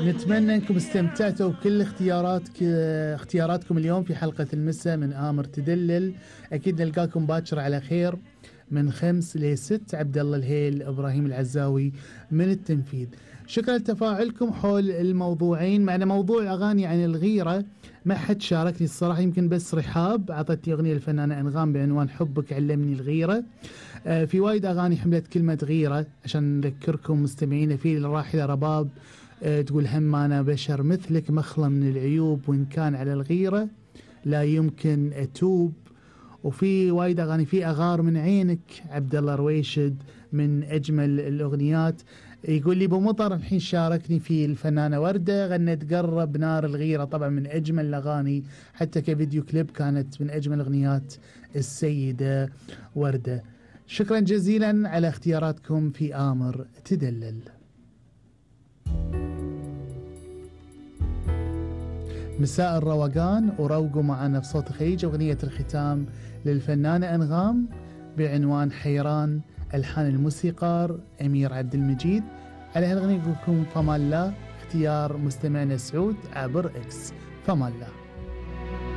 نتمنى انكم استمتعتوا بكل اختياراتكم اليوم في حلقة المساء من آمر تدلل. اكيد نلقاكم باكر على خير من 5 ل 6. عبد الله الهيل، ابراهيم العزاوي من التنفيذ. شكرا لتفاعلكم حول الموضوعين. معنا موضوع اغاني عن الغيرة ما حد شاركني الصراحة، يمكن بس رحاب عطتني اغنية الفنانة انغام بعنوان حبك علمني الغيرة. في وايد اغاني حملت كلمة غيرة عشان نذكركم مستمعين. في الراحلة رباب تقول هم أنا بشر مثلك مخلى من العيوب، وإن كان على الغيرة لا يمكن أتوب. وفي وايد أغاني. في أغار من عينك عبد الله رويشد من أجمل الأغنيات. يقول لي بمطر الحين شاركني في الفنانة وردة غنت قرب نار الغيرة، طبعا من أجمل الأغاني حتى كفيديو كليب كانت من أجمل أغنيات السيدة وردة. شكرا جزيلا على اختياراتكم في آمر تدلل. مساء الروقان وروقوا معنا في صوت خيج أغنية الختام للفنانة أنغام بعنوان حيران، ألحان الموسيقار أمير عبد المجيد. على هالأغنية يقول لكم فما الله، اختيار مستمعنا سعود عبر إكس. فما الله.